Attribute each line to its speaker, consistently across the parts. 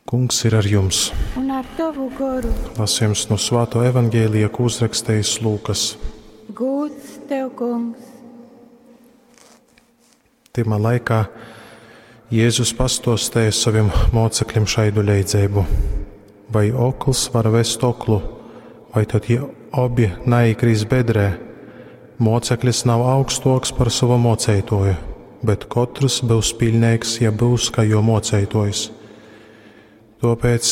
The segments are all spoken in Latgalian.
Speaker 1: Kungs ir ar jums.
Speaker 2: Un ar tovu goru.
Speaker 1: Lasījums no Svāto evaņģēlija, ko uzrakstījis Lūkas.
Speaker 2: Gūds tev, kungs!
Speaker 1: Tymā laikā Jēzus pastostēja saviem mocekļiem šaidu leidzeibu. Vai okls var vest oklu, vai tad ja obi naikrīs bedrē? Moceklis nav augstoks par savu moceitoju, bet kotrs būs pilnīgs, ja būs kā jo moceitojs. Tāpēc,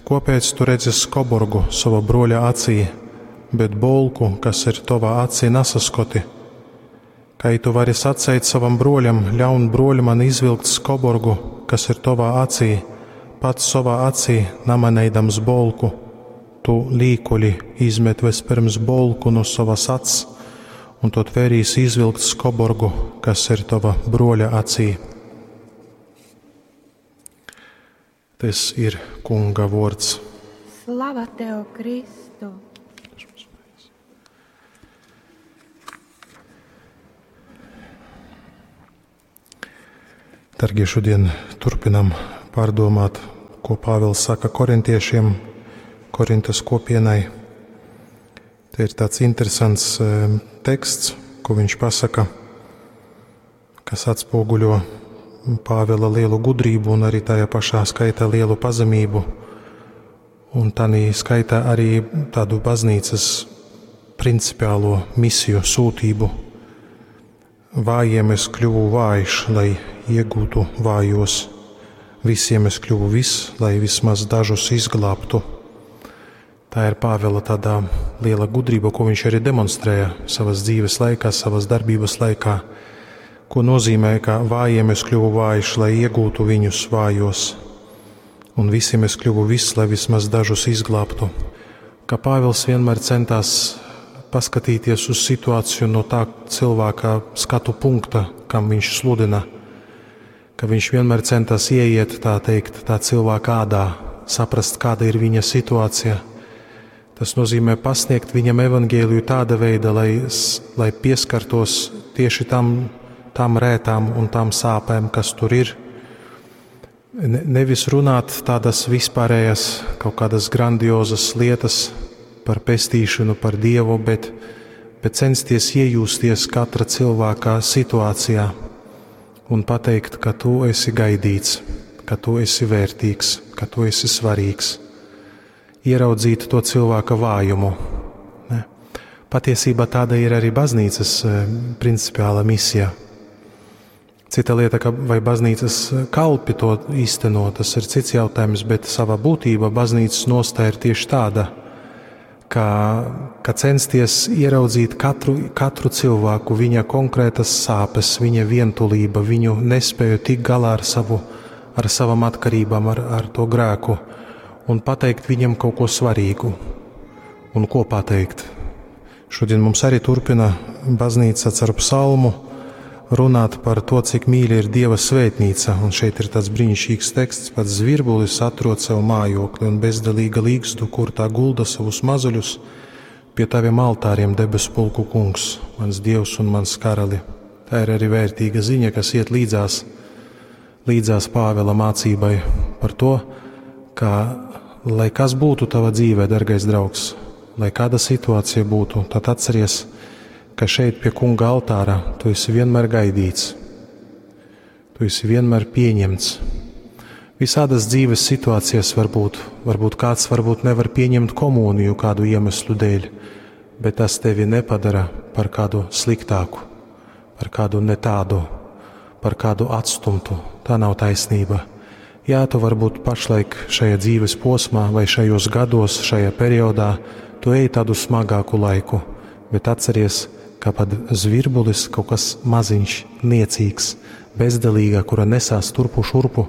Speaker 1: kopēc tu redzi skoborgu sava broļa acī, bet bolku, kas ir tavā acī, nesaskoti? Kai tu vari saceit savam broļam, ļaun broļ man izvilkt skoborgu, kas ir tavā acī, pats savā acī namaneidams bolku? Tu līkuļi izmet vispirms bolku no savas acs, un tad vērīs izvilkt skoborgu, kas ir tava broļa acī. Tas ir Kunga vārds.
Speaker 2: Slava tev, Kristu!
Speaker 1: Dargie, šodien turpinam pārdomāt, ko Pāvils saka korintiešiem, Korintas kopienai. Te ir tāds interesants teksts, ko viņš pasaka, kas atspoguļo Pāvila lielu gudrību un arī tajā pašā skaitā lielu pazemību. Un tanī skaitā arī tādu baznīcas principiālo misiju, sūtību. Vājiem es kļuvu vājš, lai iegūtu vājos. Visiem es kļuvu viss, lai vismaz dažus izglābtu. Tā ir Pāvila tādā liela gudrība, ko viņš arī demonstrēja savas dzīves laikā, savas darbības laikā. Ko nozīmē, ka vājiem es kļuvu vājš, lai iegūtu viņus vājos, un visiem es kļuvu viss, lai vismaz dažus izglābtu. Ka Pāvils vienmēr centās paskatīties uz situāciju no tā cilvēka skatu punkta, kam viņš sludina, ka viņš vienmēr centās ieiet, tā teikt, tā cilvēka ādā, saprast, kāda ir viņa situācija. Tas nozīmē pasniegt viņam evaņģēliju tāda veida, lai, lai pieskartos tieši tam, tām rētām un tām sāpēm, kas tur ir. Ne, nevis runāt tādas vispārējas, kaut kādas grandiozas lietas par pestīšanu, par Dievu, bet, bet censties iejusties katra cilvēka situācijā un pateikt, ka tu esi gaidīts, ka tu esi vērtīgs, ka tu esi svarīgs. Ieraudzīt to cilvēka vājumu. Ne? Patiesībā tāda ir arī baznīcas principiāla misija. Cita lieta, ka vai baznīcas kalpi to īsteno, tas ir cits jautājums, bet savā būtībā baznīcas nostāja ir tieši tāda, ka, ka censties ieraudzīt katru, katru cilvēku, viņa konkrētas sāpes, viņa vientulība, viņu nespēju tikt galā ar, savu, ar savam atkarībām, ar, ar to grēku, un pateikt viņam kaut ko svarīgu. Un ko pateikt? Šodien mums arī turpina baznīca caur psalmu runāt par to, cik mīļa ir Dieva svētnīca. Un šeit ir tāds brīnišķīgs teksts, pats zvirbulis atrod sev mājokli un bezdelīga līgzdu, kur tā gulda savus mazuļus pie taviem altāriem, debesu pulku kungs, mans Dievs un mans karali. Tā ir arī vērtīga ziņa, kas iet līdzās, līdzās Pāvela mācībai par to, ka, lai kas būtu tava dzīvē, dargais draugs, lai kāda situācija būtu, tad atceries, ka šeit pie kunga altāra tu esi vienmēr gaidīts, tu esi vienmēr pieņemts. Visādas dzīves situācijas var būt, varbūt kāds varbūt nevar pieņemt komuniju kādu iemeslu dēļ, bet tas tevi nepadara par kādu sliktāku, par kādu netādu, par kādu atstumtu. Tā nav taisnība. Jā, tu varbūt pašlaik šajā dzīves posmā vai šajos gados, šajā periodā, tu ej tādu smagāku laiku, bet atceries, ka pat zvirbulis kaut kas maziņš, niecīgs, bezdelīga, kura nesās turpu šurpu,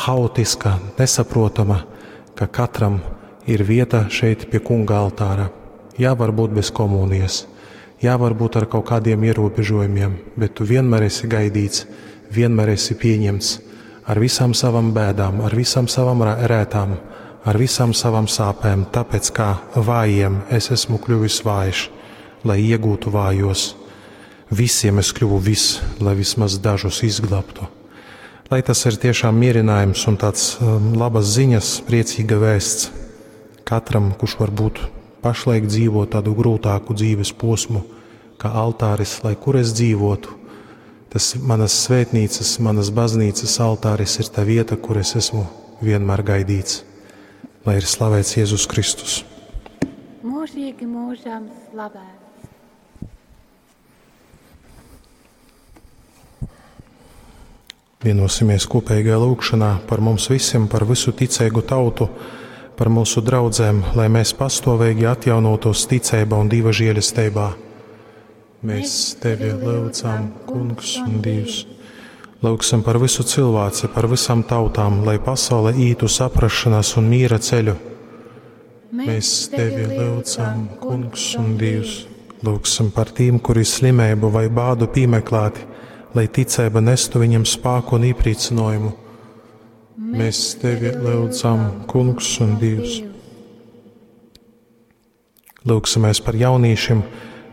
Speaker 1: haotiska, nesaprotama, ka katram ir vieta šeit pie kunga altāra. Jā, varbūt bez komunijas, jā, varbūt ar kaut kādiem ierobežojumiem, bet tu vienmēr esi gaidīts, vienmēr esi pieņemts ar visām savām bēdām, ar visām savām rētām, ar visām savām sāpēm, tāpēc kā vājiem es esmu kļuvis vājš, lai iegūtu vājos. Visiem es kļuvu viss, lai vismaz dažus izglābtu. Lai tas ir tiešām mierinājums un tāds labas ziņas, priecīga vēsts katram, kurš varbūt pašlaik dzīvo tādu grūtāku dzīves posmu, kā altāris, lai kur es dzīvotu. Tas manas svētnīcas, manas baznīcas altāris ir tā vieta, kur es esmu vienmēr gaidīts. Lai ir slavēts Jēzus Kristus.
Speaker 2: Mūžīgi mūžam slavēts.
Speaker 1: Vienosimies kopīgajā lūgšanā par mums visiem, par visu ticīgu tautu, par mūsu draudzēm, lai mēs pastāvīgi atjaunotos ticībā un Dieva žēlestībā. Mēs tevi lūdzam, Kungs un Dievs. Lūgsim par visu cilvēci, par visām tautām, lai pasaule ītu saprašanās un miera ceļu. Mēs tevi lūdzam, Kungs un Dievs. Lūgsim par tiem, kuri slimību vai bādu piemeklēti, lai ticība nestu viņam spēku un iepriecinājumu. Mēs tevi lūdzam, Kungs un Dievs. Lūgsimies par jauniešiem,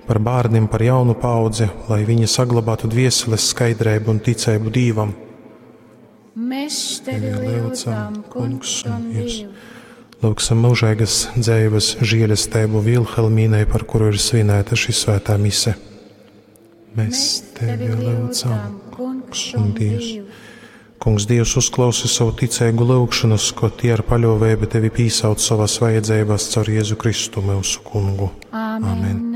Speaker 1: par bērniem, par jaunu paudzi, lai viņi saglabātu dvieseles skaidrību un ticību Dievam.
Speaker 2: Mēs tevi lūdzam, Kungs un Dievs.
Speaker 1: Lūgsim mūžīgas dzīves žēlastību Vilhelmīnai, par kuru ir svinēta šī svētā mise. Mēs tevi lūdzam, Kungs un Dievs. Kungs, Dievs, uzklausi savu ticīgu lūgšanas, ko tie ar paļāvību tevi pīsauc savās vajadzībās caur Jēzu Kristu, mūsu kungu.
Speaker 2: Āmen. Amen.